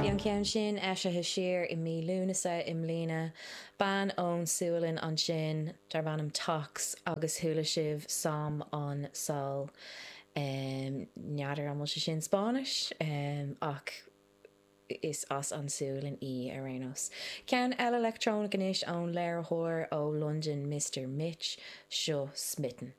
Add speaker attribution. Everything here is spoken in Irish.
Speaker 1: Bhí an ceann sin eisithe siar i mí Lúnasa i mbliana. Bean ón Sualainn ansin darb ainm Tox agus chuala sibh Som on Sol. N'fheadar an bhfuil sé sin Spáinnis ach is as an Sualainn í ar aon nós. Ceann eile leictreonach anois ón léiritheoir ó Londain Mister Mitch, seo Smitten.